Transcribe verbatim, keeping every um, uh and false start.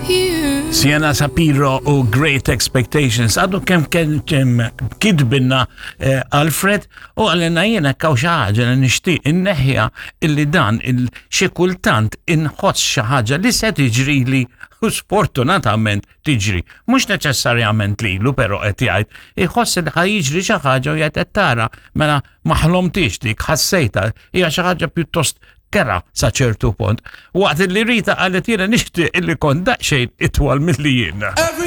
You. Sienna Sapiro u Great Expectations. Għadu kemm kemm kitbilna eh, Alfred u qalilna jiena hawn xi ħaġa li nixtieq inneħħiha, illi dan il xi kultant inħoss xi ħaġa li se tiġri li u sfortunatament tiġri. Mhux neċessarjament lilu, però qed jgħid iħoss li ħa jiġri xi ħaġa u jgħid, "Qed tara, mela ma ħlomtix dik, ħassejta." Hija xi ħaġa pjuttost kerha sa ċertu punt. Waqt li Rita qalet, "Jiena nixtieq illi kont daqsxejn itwal milli jiena." Everything